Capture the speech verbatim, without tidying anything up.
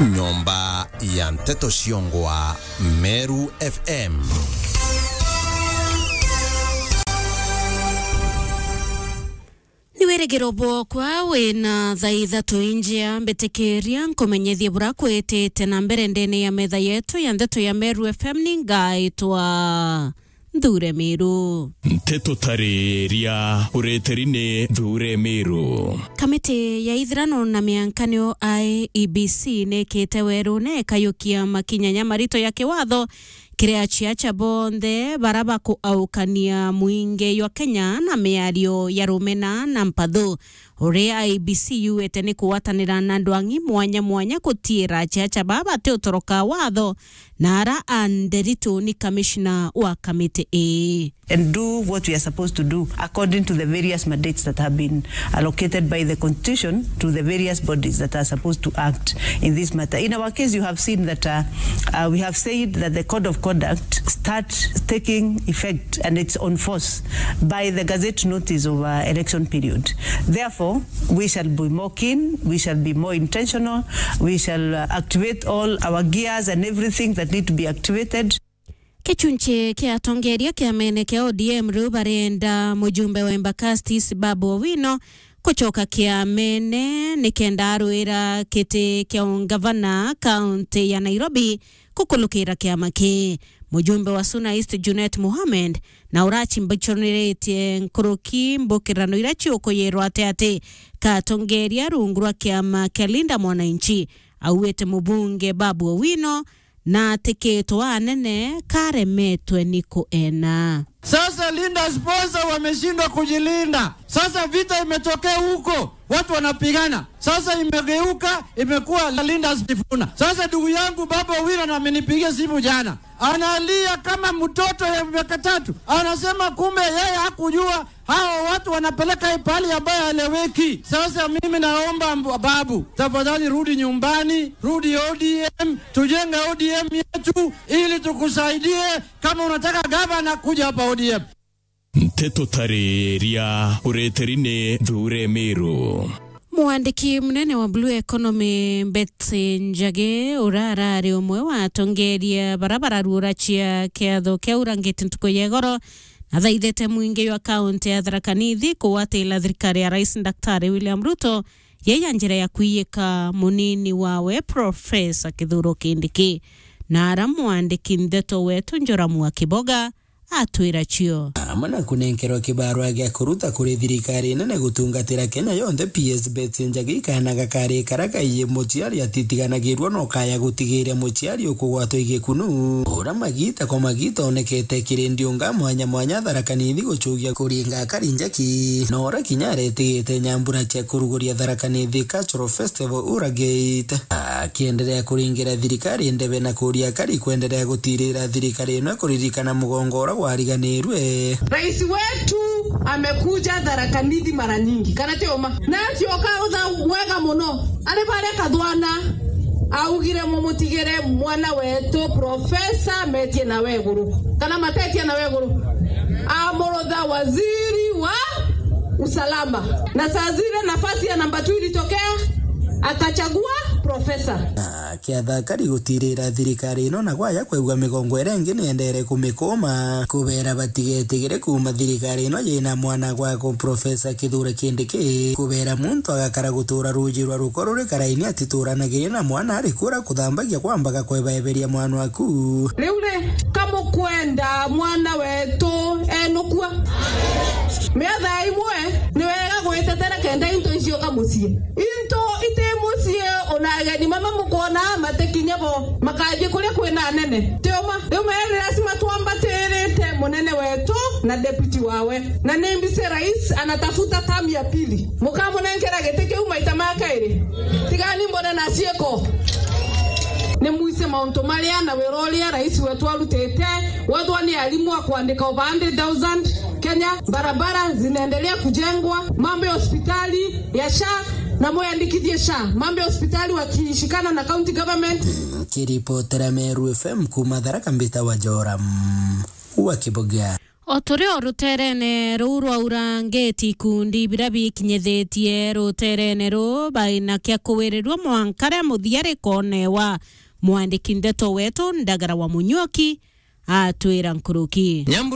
Nyomba ya nteto ciongwa Meru F M. Ni wirigiro bwokwa wina thaa ithatu injia, mbitikiria nkumenyethie bura kwitite na mbere ndene ya metha yetu ya nteto ya Meru F M. Ni ngaitwa Nthure Miru. Nteto tariria ureteri ni Nthure Miru. Kamiti ya ithirano na miankanio I E B C nikite weru na ikayukia makinya ja marito ya kiwatho kiri aciaca bonthe bara bakuaukania mwingi jwa Kenya na miario ya rumena na mpathu. Uria I E B C yuite ni kugwatanira na andu ang'i mwanya mwanya gutiira aciaca baa batiutoroka watho na ara a Nderitu ni kamishna wa kamiti ii. And do what we are supposed to do according to the various mandates that have been allocated by the constitution to the various bodies that are supposed to act in this matter. In our case, you have seen that, uh, uh, we have said that the code of conduct start taking effect and it's on force by the gazette notice of, uh, election period. Therefore, we shall be more keen, we shall be more intentional, we shall, uh, activate all our gears and everything that need to be activated. Kichunchi kia atongeria kiamene kia O D M riu barenda mujumbe wa Embakasi East Babu Owino gucoka kiamene nikenda arwira kiti kia ungavana kaunti ya Nairobi gukulukira kiama kii. Mujumbe wa Suna East Junet Mohamed na urachimbichoniritie nkuruki mbukirano iria ciukuyirwa ati ati ka atongeria rungu rwa kiama kia Linda Mwananchi, auite mubunge Babu Owino na atikitwa anene karemetwe ni kuena. Sasa Linda sponsor wameshindwa kujilinda. Sasa vita imetokea huko, watu wanapigana. Sasa imegeuka, imekuwa Linda Sifuna. Sasa ndugu yangu Babu Owino na amenipigia simu jana. Analia kama mtoto ya miaka tatu. Anasema kumbe yeye hakujua hao watu wanapeleka hii pahali ambayo haeleweki. Sasa mimi naomba mb-, Babu, tafadhali rudi nyumbani, rudi O D M, tujenge O D M yetu ili tukusaidie kama unataka gavana kuja hapa O D M. Nteto tariria ureteri ni Nthure Miru. Mwandiki munene wa Blue Economy Betsy Njagi, uria arari umwe wa atongeria bara bararuura cia kiatho kia urangiti ntuku ya igoro, nathaithite mwingi jwa kaunti ya Tharaka Nithi kugwatira thirikari ya Rais Daktari William Ruto yeya njira ya kwiyika munini wawe Profesa Kithure Kindiki. Na ara mwandiki ndeto wetu Njoramu wa Kiboga atwira cio. Amwe na kunenkerwa kibarua gia kuruta kuri thirikari nene gutungatira Kenya yonthe, P S Betsy Njagi kaana gakari kara kaiye muciari atitiganagirua no kaya gutigiria muciari ukugwatwa igikunu. Ura magita kwa magita onekete kiri ndiunga mwanya mwanya Tharaka Nithi gucugia kuringa akari njaki. Na ura kinya aretigite nyambura cia kuruguria Tharaka Nithi Cultural Festival Ura Gate. Akiendelea kuringira thirikari ndebe na kuria akari kwendelea gutirira thirikari ino kuririkana mugongo ura gwariganirue. Rais wetu amekuja Tharaka Nithi mara nyingi, kana ti uma? Na acioka utha mwega muno, ari baria kathwana augire mumutigire mwana wetu Profesa metie na weguru, kana matetie na weguru, amurutha waziri wa usalama. Na saa zile nafasi ya namba two ilitokea, akachagua Profesa. Akiatha akari gutirira thirikari ino na gwaya kwigua migongo iria ingi niendere kumikuma. Kubera batigetigire kuuma thirikari ino yina mwana gwako Profesa Kithure Kindiki. Kubera muntu agakara gutura ruji rwa ruko ruri karaini atituranagiria na mwana ari kura kuthambagia kwambaga kwebeberia mwana waku. Riu ri, kamukwenda mwana wetu enukua? Miatha imwe ni wega gwitetera kenda into icioka mucii. Into iti mucii, ona ageni mama mukwona matikinya bo, makathi kuria kwina anene. Ti uma? Riu mere ni lazima twambatirite munene wetu na deputy wawe. Na ni mbise rais anatafuta term ya pili. Mukamunenkera giti kiu maita ma kairi? Tigani mbone na ciiko. Ni mwise mauntu maria na wira uria rais wetu arutite. Wethwa ni arimu a kuandika over hundred thousand Kenya, barabara zinaendelea kujengwa, mambo ya hospitali ya SHA, na mwiyandikithie SHA, mambo ya hospitali wakishikana na county government. Kiripotera Meru F M kuma Tharaka, mbita wa Joram wa Kibogia. O turi o ruterene ruu rwa Urangiti, ikundi biria bikinyithitie ruterene ruu baina kia kuwirirua mwanka ria muthia rikonewa. Mwandiki ndeto wetu Ndagara wa Munyuoki atwira nkuruki. Nyambura